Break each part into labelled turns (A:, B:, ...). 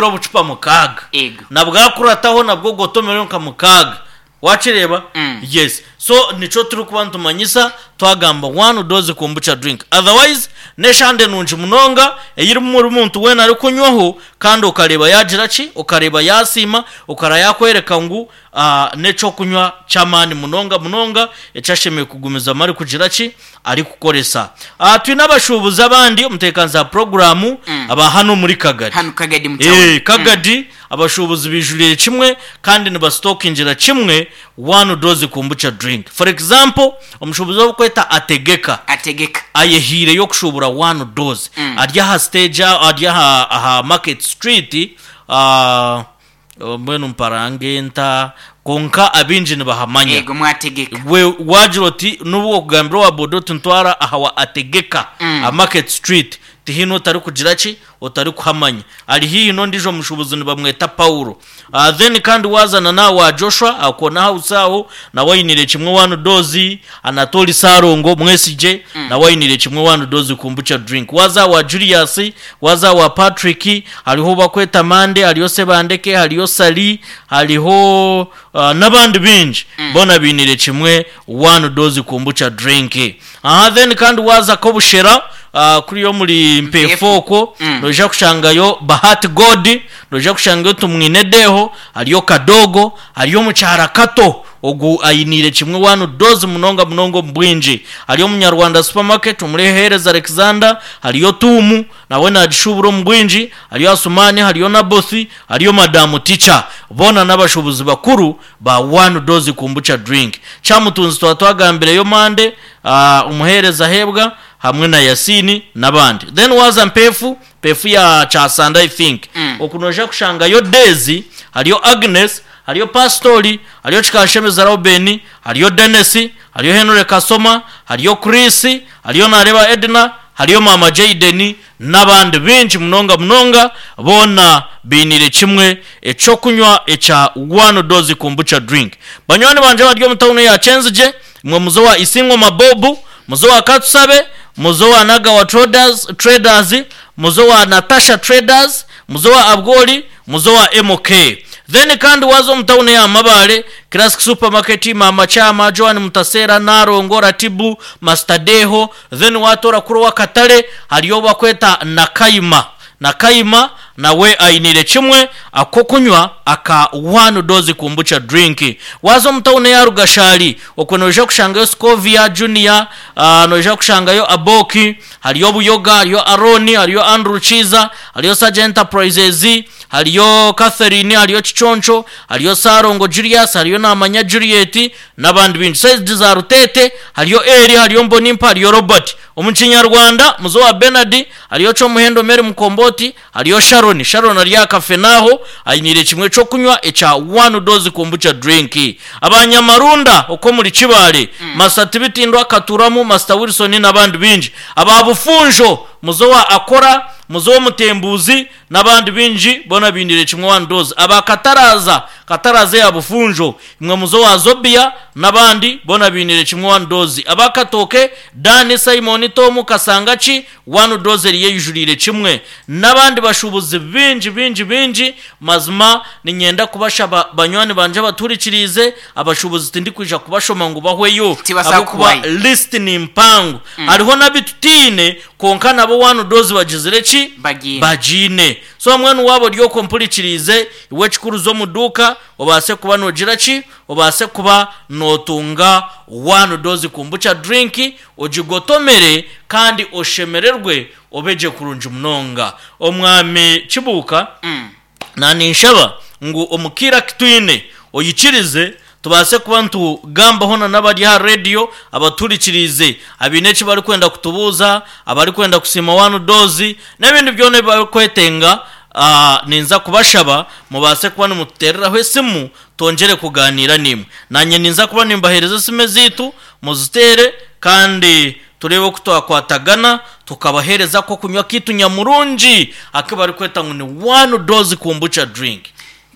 A: Obucupa mukaaga.
B: Ego.
A: Na bwakurataho nabwo gotomereho nka mukaaga. Wakireeba? Yes. So nikyo turikuba nitumanyisa twagamba one dose kombucha drink. Otherwise n'eshande nungi munonga eyirimu buri muntu weena arikunywaho kandi okareeba yaagira ki? Okareeba yaasiima, okara yaakworeka ngu n'eky'okunywa ky'amaani munonga munonga eki ashemereire kugumizamu arikugira ki? Arikukoresa. Twine abashuubuzi abandi omu ntebeekanisa ya puroguraamu aba hanu omuri Kagadi.
B: Hanu Kagadi mu tauni.
A: Kagadi, abashuubuzi baijuriire kimwe kandi nibasitokingira kimwe one dose kombucha drink. For example, omushuubuzi ou barikweta Ategeka.
B: Ategeka.
A: Ayehaireyo kushuubura one dose. Ari aha siteegi ari aha Market Street. Mbwenu mparange nta? Kwonka abaingi nibahamanya.
B: Eego, mwategeka.
A: Gwe waagira oti, n'obu okugambira owa boda oti ntwara aha wa Ategeka, aha Market Street, tihaine otarikugira ki? Otarikuhamanya. Ari haihi n'ondiijo mushuubuzi nibamweta Paulo. Then kandi waaza na n'aha wa Joshua, aha Corner House aho, nawe ainiire kimwe one dose, Anatoli Ssalongo, Mwesigye, nawe ainiire kimwe one dose kombucha drink. Waaza aha wa Julius, Waaza aha wa Patrick, hariho ou barikweta Mande, hariyo Sebandeke, hariyo Sally, hariho n'abandi baingi. Boona bainiire kimwe one dose kombucha drink. Aha then kandi waaza Kobushera kuriya omuri Mpeefu okwo, noija kushangayo Bahati God, noija kushangayo Tumwine Deho, hariyo Kadogo, hariyo Omukyara Kato. Ogu ainiire kimwe one dose munonga munonga omu bwingi. Hariyo Omunyarwanda Supermarket omuri Hehereza Alexander, hariyo Tuumu nawe nagishuubura omu bwingi, hariyo Asumani, hariyo Nabothi, hariyo Madamu Teacher. Boona n'abashuubuzi bakuru ba one dose kombucha drink. Kyamutunzi twaba twagambireyo Mande, Omuheereza Hebwa hamwe na Yasini n'abandi. Then waaza Mpeefu, Mpeefu ya Kyasanda I think, oku noija kushangayo Daisy, hariyo Agnes, Hariyo Pasitori, hariyo Kikashemeza Reuben, hariyo Denis, hariyo Henry Kasoma, hariyo Chris, hariyo Nareeba Edna, hariyo Maama Jayden n'abandi baingi munonga munonga boona bainiire kimwe eky'okunywa ekya One Dose Kombucha Drink. Banywani bangye abari omu tauni eya Kyenzigye, imwe muze owa Isingoma Bob, muze owa Katusabe, muze owa Nagawa Traders, muze owa Natasha Traders, muze owa Abwoli, Muze owa MK. Then kandi waaza omu tawuni eya Mabaale, Classic Supermarket, Maama Kyama, Joan Mutaseera, Nalongo, Ratibu, Master Deho, then waatoora kuri ow'akatare hariyo ou bakweta Nakayima. Nakayima nawe ainiire kimwe ak'okunywa aka One Dose Kombucha Drink. Waaza omu tawuni eya Rugashari, okwo noija kushangayo Scovia, Junior, noija kushangayo Aboki, Hariyo Buyoga, hariyo Arooni, hariyo Andrew Kiiza, hariyo Sage Enterprises, hariyo Catherine, hariyo Kiconco, hariyo Ssalongo Julius, hariyo Namanya Juliet n'abandi baingi. Saidi za Ruteete hariyo Eli, hariyo Mbonimpa, hariyo Robert. Omu Kinyarwanda, Muzo wa Bernard, hariyo Kyomuhendo Mary Mukomboti, hariyo Sharon. Sharon ari aha Kafenaaho ainiire kimwe ky'okunywa ekya One Dose Kombucha Drink. Abanyamarunda okw'omuri Kibaale, Master Tibitindwa Katuramu, Master Wilson n'abandi baingi. Aba Bufunjo, Muzo wa Akora, Muzo w'Omutembuuzi n'abandi baingi boona bainiire kimwe One Dose. Aba Kataraaza, Kataraaza eya Bufunjo, imwe Muzo wa Zobia n'abandi boona bainiire kimwe One Dose. Aba Katooke, Dan, Simon, Tom, Kasangaki, One Dose eriyo eijuriire kimwe n'abandi bashuubuzi baingi baingi baingi. Mazima niinyenda kubashaba banywani bangye abatuhurikiriize, abashuubuzi tindikwija kubashoma ngu bahweyo
B: Tibaza
A: ahabw'okuba
B: kuhwayo.
A: list ni mpango. Hariho n'abu tutaine kwonka nabo One Dose bagizire ki?
B: Bagiine.
A: Bagiine. So mbwenu waaba ori okwo ompurikiriize, iwe ekikuru za omu duuka obaase kuba noogira ki? Obaase kuba nootunga One Dose Kombucha drink Ogigotomere kandi oshemererwe obe gye kurungi munonga. Omwami Kibuuka, naninshaba ngu omu kaire aku twine oikirize tubaase kuba nitugambaho na n'abari aha rediyo abatuhurikiriize abaine eki barikwenda kutubuuza, abarikwenda kusiima One Dose n'ebindi byona ebi barikwetenga. Ninza kubashaba mubaase kuba nimututeereraho esimu twongyere kugaaniira naimwe. Naanye ninza kuba nimbaheereza esimu ezaitu muziteere kandi tureebe oku twakwatagana tukabaheereza ak'okunywa kaitu nyamurungi aku barikweta ngu ni One Dose Kombucha Drink.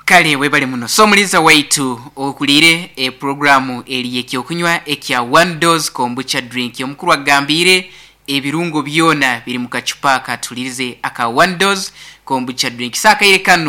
B: Kale webale muno. So omuliiza waitu ohuriire epuroguraamu eri y'eky'okunywa ekya One Dose Kombucha Drink. Omukuru agambiire. Ebirungo byona biri mu kacupa aka tuhuriirize aka One Dose Kombucha Drink. So akaire kanu.